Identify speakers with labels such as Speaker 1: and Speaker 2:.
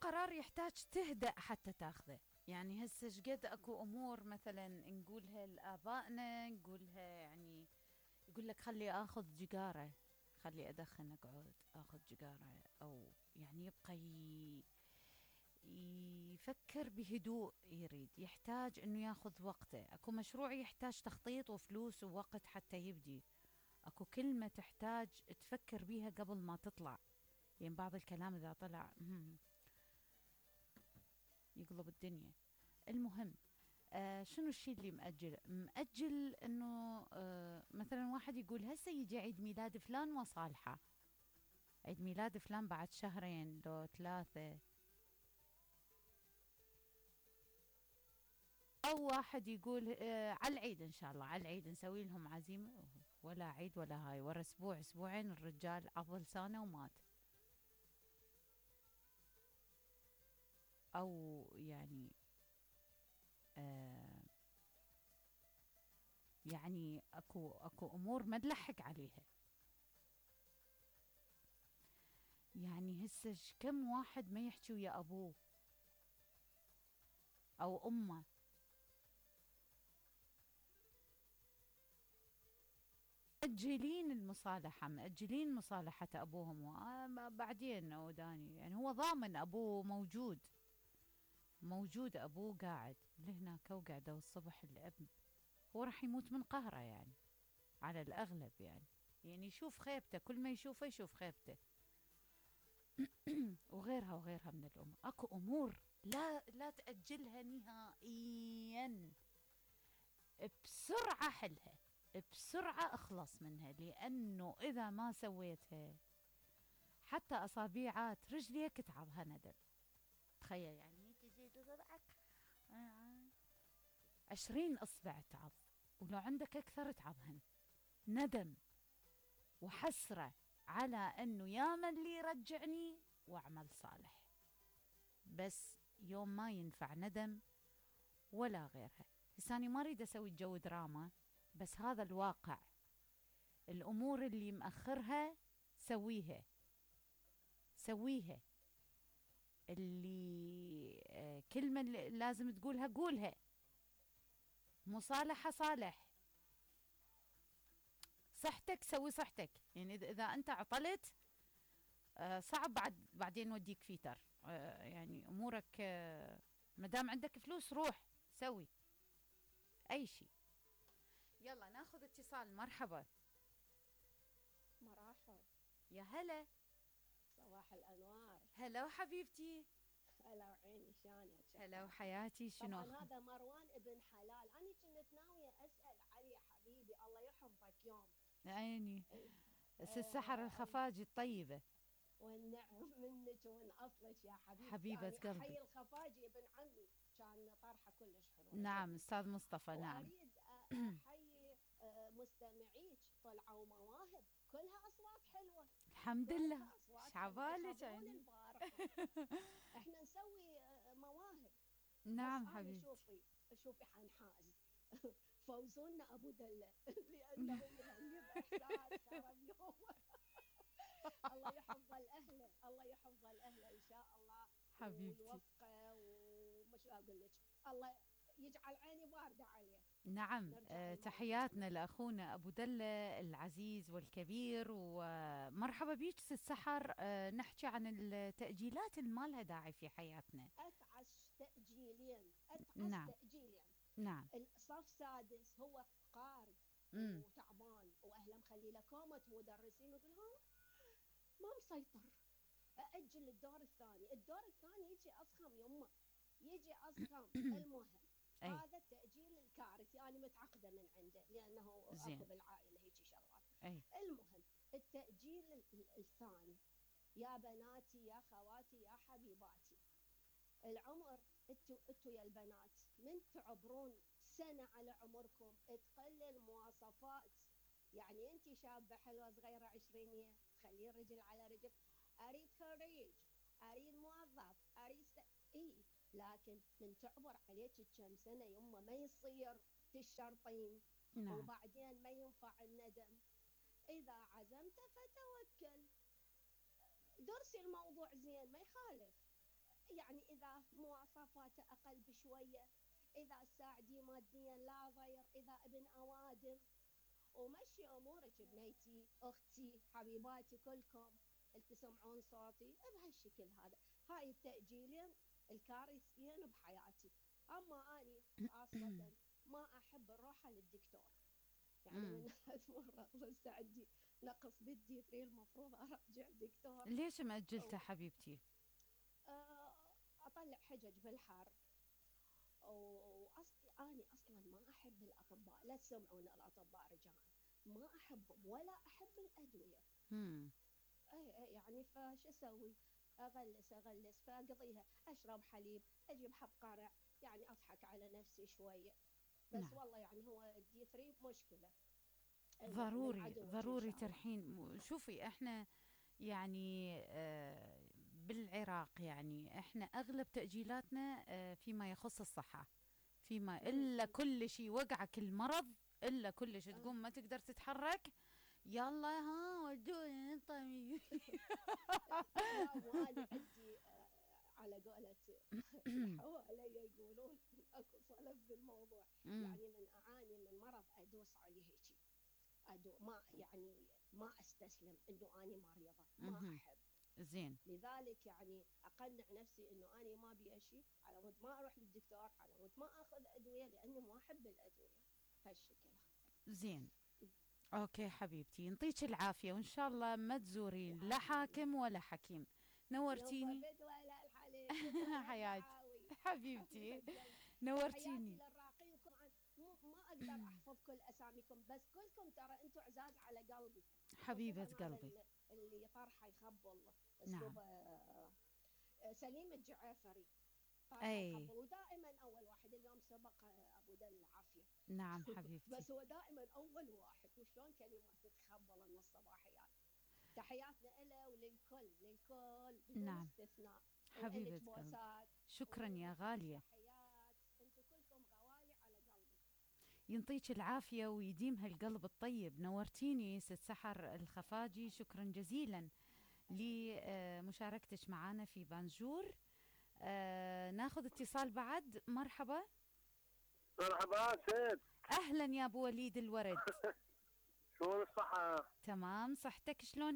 Speaker 1: قرار يحتاج تهدأ حتى تاخذه. يعني هسه شقد اكو امور مثلا نقولها لآبائنا، نقولها يعني يقول لك خلي اخذ جيجاره، خلي ادخن اقعد اخذ جيجاره، او يعني يبقى يفكر بهدوء، يريد يحتاج انه ياخذ وقته. اكو مشروع يحتاج تخطيط وفلوس ووقت حتى يبدي، اكو كلمة تحتاج تفكر بيها قبل ما تطلع. يعني بعض الكلام اذا طلع يقلب الدنيا. المهم شنو الشيء اللي مأجل انه مثلا واحد يقول هسه يجي عيد ميلاد فلان وصالحة، عيد ميلاد فلان بعد شهرين لو 3. او واحد يقول على العيد ان شاء الله، على العيد نسوي لهم عزيمة، ولا عيد ولا هاي، ورا اسبوع اسبوعين الرجال عضل سنة ومات. او يعني يعني اكو امور ما نلحق عليها. يعني هسه كم واحد ما يحكي ويا ابوه او امه، مأجلين المصالحة، مأجلين مصالحة أبوهم بعدين وداني. يعني هو ضامن أبوه موجود، موجود أبوه قاعد لهناك وقاعدة، والصبح الأب هو راح يموت من قهره يعني، على الأغلب يعني. يعني يشوف خيبته، كل ما يشوفه يشوف خيبته. وغيرها وغيرها من الأمور. أكو أمور لا تأجلها نهائيا، بسرعة حلها، بسرعة اخلص منها، لأنه إذا ما سويتها حتى أصابيعات رجليك تعبها ندم. تخيل يعني تجي تصبعك 20 إصبع تعب، ولو عندك أكثر تعبهن. ندم وحسرة على أنه يا من اللي يرجعني وأعمل صالح، بس يوم ما ينفع ندم ولا غيرها. لساني ما أريد أسوي جو دراما، بس هذا الواقع. الأمور اللي مأخرها سويها، سويها. اللي كلمة اللي لازم تقولها قولها. مصالحة صالح. صحتك سوي صحتك. يعني إذا أنت عطلت صعب بعدين نوديك فيتر. يعني أمورك مدام عندك فلوس روح سوي أي شيء. يلا ناخذ اتصال. مرحبا.
Speaker 2: مرحبا.
Speaker 1: يا هلا.
Speaker 2: صباح الأنوار.
Speaker 1: هلا وحبيبتي.
Speaker 2: هلا وعيني شلونك؟
Speaker 1: هلا وحياتي. شنو
Speaker 2: طبعا هذا مروان ابن حلال، أنا كنت ناوية أسأل عليه حبيبي، الله يحفظك يوم.
Speaker 1: عيني. السحر الخفاجي الطيبة.
Speaker 2: والنعم منك ومن أصلك يا حبيبتي.
Speaker 1: حبيبة
Speaker 2: يعني
Speaker 1: قلبي.
Speaker 2: أحيي الخفاجي ابن عمي، كان طرحة كلش حلوة.
Speaker 1: نعم أستاذ مصطفى. نعم.
Speaker 2: وأريد أحيي مستمعيك، طلعوا مواهب كلها أصوات حلوة.
Speaker 1: الحمد لله. شعبالك
Speaker 2: يخبرون
Speaker 1: يعني.
Speaker 2: البارحة. احنا نسوي مواهب.
Speaker 1: نعم
Speaker 2: بس أنا
Speaker 1: حبيبتي.
Speaker 2: شوفي حنحاز. فوزونا أبو دلة لأنه يغني بإحساس خرب يوم. الله يحفظ الأهل، الله يحفظ الأهل إن شاء الله.
Speaker 1: حبيبتي.
Speaker 2: ويوفقه، ومش أقول لك الله يجعل عيني باردة عليه.
Speaker 1: نعم. تحياتنا لأخونا أبو دلة العزيز والكبير، ومرحبا بيك ست سحر. نحكي عن التأجيلات اللي ما لها داعي في حياتنا.
Speaker 2: أتعس تأجيلين، أتعس
Speaker 1: نعم.
Speaker 2: تأجيلين.
Speaker 1: نعم.
Speaker 2: الصف سادس هو قارب
Speaker 1: مم.
Speaker 2: وتعبان، واهله مخلي له كومة، مدرسين يقول ها ما مسيطر، اجل الدور الثاني. الدور الثاني يجي اصخم يمه، يجي اصخم. المهم
Speaker 1: أي.
Speaker 2: هذا التأجيل الكارثي، أنا متعقدة من عنده لأنه
Speaker 1: زين.
Speaker 2: أكو بالعائلة هيك شغلات.
Speaker 1: أي.
Speaker 2: المهم التأجيل الثاني، يا بناتي يا خواتي يا حبيباتي، العمر انتوا يا البنات من تعبرون سنة على عمركم تقل المواصفات. يعني انت شابة حلوة صغيرة عشرينية تخلين رجل على رجل، اريد خريج، اريد موظف، اريد اي، لكن من تعبر عليك كم سنة يمه ما يصير تشرطين.
Speaker 1: نعم.
Speaker 2: وبعدين ما ينفع الندم. اذا عزمت فتوكل، درسي الموضوع زين ما يخالف. يعني إذا مواصفاته أقل بشوية، إذا تساعديه ماديا لا ضير، إذا ابن أوادم. ومشي أمورك بنيتي، أختي، حبيباتي كلكم اللي تسمعون صوتي بهالشكل هذا. هاي التأجيلين الكارثيين بحياتي. أما أني خاصة ما أحب الروحة للدكتور، يعني من مرة بس عندي نقص بالدي 3 المفروض أرجع دكتور.
Speaker 1: ليش مأجلته حبيبتي؟
Speaker 2: أطلع حجج بالحر. أنا أصلا ما أحب الأطباء، لا تسمعون الأطباء رجال، ما أحبهم ولا أحب الأدوية. يعني فش أسوي؟ أغلس فأقضيها أشرب حليب، أجيب حب قرع، يعني أضحك على نفسي شوية. بس
Speaker 1: نعم.
Speaker 2: والله يعني هو الدي 3 مشكلة.
Speaker 1: ضروري ترحين. شوفي احنا يعني بالعراق يعني احنا اغلب تأجيلاتنا فيما يخص الصحة، فيما الا كل شيء وقعك المرض، الا كل شيء تقوم ما تقدر تتحرك، يلا ها ودوني طبيب.
Speaker 2: لا وانا عندي على قولة حوالي يقولون اكو صلف بالموضوع. يعني من اعاني من مرض ادوس عليه هيك، ما يعني ما استسلم انه اني مريضة، ما احب.
Speaker 1: زين.
Speaker 2: لذلك يعني اقنع نفسي انه اني ما بي شيء، على مود ما اروح للدكتور، على مود ما اخذ ادوية، لاني ما احب الادوية هالشكل.
Speaker 1: زين. اوكي حبيبتي، ينطيك العافية، وان شاء الله ما تزورين لا حاكم ولا حكيم. نورتيني.
Speaker 2: ولا الحليب ولا
Speaker 1: حياتي
Speaker 2: الدعاوي.
Speaker 1: حبيبتي،
Speaker 2: تحياتي
Speaker 1: نورتيني.
Speaker 2: للراقين. ما اقدر احفظ كل اساميكم، بس كلكم ترى انتم عزاز على قلبي.
Speaker 1: حبيبة قلبي.
Speaker 2: اللي طرحه يخبل
Speaker 1: نعم.
Speaker 2: اسلوبه. سليم الجعافري
Speaker 1: اي
Speaker 2: ودائما اول واحد. اليوم سبق ابو دل العافيه.
Speaker 1: نعم حبيبتي.
Speaker 2: بس هو دائما اول واحد، وشلون كلمات تتخبل من الصباحيات. تحياتنا له وللكل بدون
Speaker 1: نعم
Speaker 2: استثناء.
Speaker 1: حبيبة قلبي، شكرا يا غالية.
Speaker 2: تحيات، انتم كلكم غوالي على قلبي.
Speaker 1: ينطيك العافية ويديم هالقلب الطيب. نورتيني ست سحر الخفاجي، شكرا جزيلا لمشاركتك معنا في بانجور. ناخذ اتصال بعد. مرحبا.
Speaker 3: مرحبا سيد.
Speaker 1: اهلا يا ابو وليد الورد.
Speaker 3: شلون الصحة؟
Speaker 1: تمام، صحتك شلون؟